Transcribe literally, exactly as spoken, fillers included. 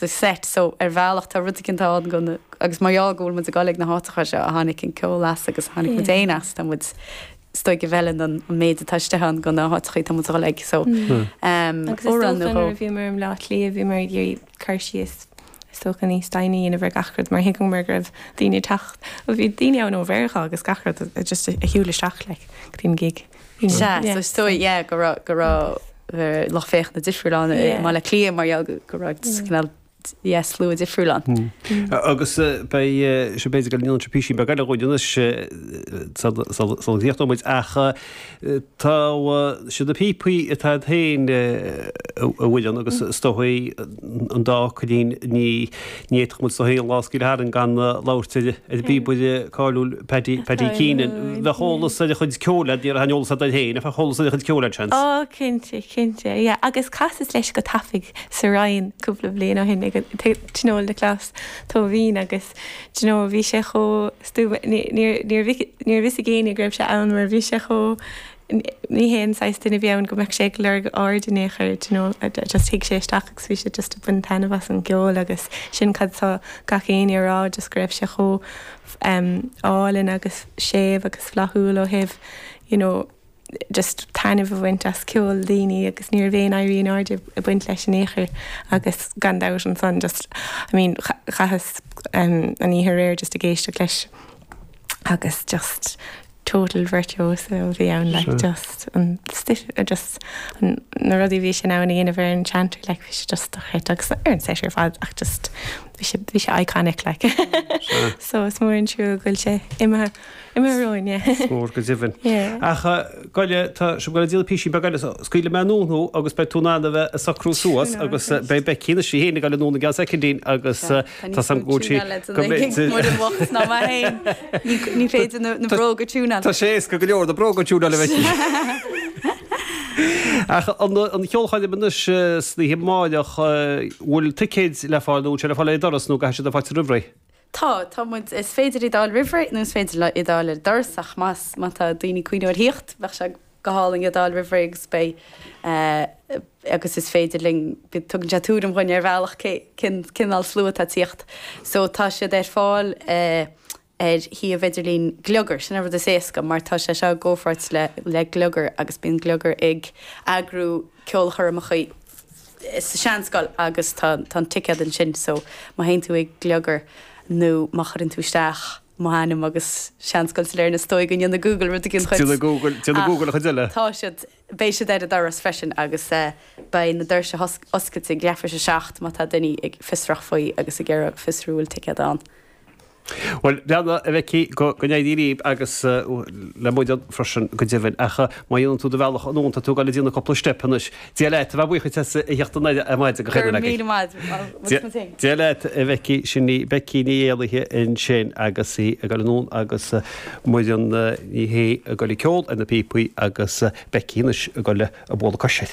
the set so ar bhealach tá rud éicint ann go agus mar go bhfuil muid ag dul ag na háiteacha seo a tháinig an ceol as agus tháinig muid féin as tá muid is dóigh go bhfeileann an an méid atá istigh ann go na háiteacha tá muid ag dul ag so um, Agus is dócha nuair a bhíomar i mBleá Cliath bhíomar ag iarraidh cur síos is dócha níos doimhne a dhéanamh ar gach rud mar thuigeamar go raibh daoine ag teacht ó bhí daoine ann ó Mheiriceá agus gach rud a- just a shiúil isteach like, go dtí an gig. You know, Sea, yeah. so is dóigh yeah, go raibh go raibh eh, lucht féachana difriúil ann i Yeah. mBaile Átha Cliath mar gheall go go raibh cineál yeah, slua difriúil ann. Agus eh, beidh sé b'fhéidir go ndéanann sé píosa beag eile dhúinn anois sula gcríochnóidh muid ach eh, tá eh, siad na píopaí atá féin a bhfuil agus is dóigh an dá chuidín ní ní fhéadfadh muid is dóigh an lá scaoileadh tharainn gan eh, labhairt ar ar bpíobaire cáiliúil Paddy Paddy Keenan. Bheadh eolas ar a chuid ceoil ní raibh eolas agat féin, bheadh eolas ar a chuid ceoil seans. Ó cinnte cinnte yeah. agus chasas leis go tapaidh sa Rinn cúpla bliain ó shin ag tionól na Clas Tóibín agus do you know, bhí sé chomh stuama níor bhfios ag éinne go raibh sé ann mar bhí sé chomh ní haon saghas duine bhí ann go mbeadh sé ag lorg aird in aon chor do you know, just thuig sé isteach agus bhí sé just ag baint taitneamh as an gceol agus sin cad tá gach éinne a rá just go raibh sé chomh um, álainn agus séimh agus flaithiúil ó thaobh you know, just taitneamh a bhaint as ceol daoine agus ní raibh aon éirí in airde ag baint leis in aon chor agus gan dabht ansan just I mean chaitheas um, an oíche aréir just ag éisteacht leis agus just total virtuoso a bhí ann like just an stiff uh, just an na rudaí bhí sin ann a dhéanamh ar an chanter like bhí sé just dochreidte agus ar an set ar fad ach just bhí sé bhí sé iconic like so is mór an trua go bhfuil sé imithe imithe romhainn yeah. Mór go deimhin. Yeah. Ach goile tá sé go díol píosa beag eile scaoilfidh mé anonn thú agus beidh tú in ann a bheith ag socrú suas agus eh, beidh Becky na sí héana go núna gas secondín agus eh, tá sam go sí go mbeidh ná mar féin ní féidir na na bróga tiúnáil. Tá sé go go leor na bróga tiúnáil le Becky. Ach an an cheolchoirm anois san oíche amárach bhfuil ticéid le fáil nó sé le fáil ag doras nó go sé de fáilte roimh ré. Tá tá muid is féidir iad a fháil roimh ré nó is féidir le iad a fháil ar doras ach más má tá daoine cuimhneamh ar theacht bheadh sé go hálainn iad a fháil roimh ré agus beidh eh, agus is féidir linn tugann sé tuairim dhúinn ar bhealach cén cineál slua atá ag tíocht. So tá siad ar fáil eh, ar shuíomh idirlín Gliogar sin an rud is éasca mar tá sé seo i gcomhpháirt le le Gliogar agus bíonn Gliogar ag eagrú ceolchoirmeacha sa Seanscoil agus tá tá an ticéad ansin so má théann tú ag Gliogar nó má chuireann tú isteach mo ainm agus Seanscoil Sailearna is dóigh go ndéanfaidh Google rud éigin chuid. Déanfaidh Google déanfaidh Google a chuid eile. Tá siad beidh siad ar an doras freisin agus uh, beidh na doirse oscailte ag leathuair tar éis a seacht má tá daoine ag fiosrach faoi agus ag iarraidh fiosrú bhfuil ticéad ann. Well leanna a bheicí go go n-éirí agus uh, le muid freisin go deimhin ach má dhéanann tú do bhealach anonn tá tú ag déanamh cúpla step anois. Dia leat bheith buíoch as a theacht ar maidin go Gur míle maith Dia leat a Bheicí sin í Becky Ní Éalaithe ansin agus í ag dul anonn agus Muireann Ní hé ag dul ag ceol ar na píopaí agus Becky anois ag dul ag bualadh coise.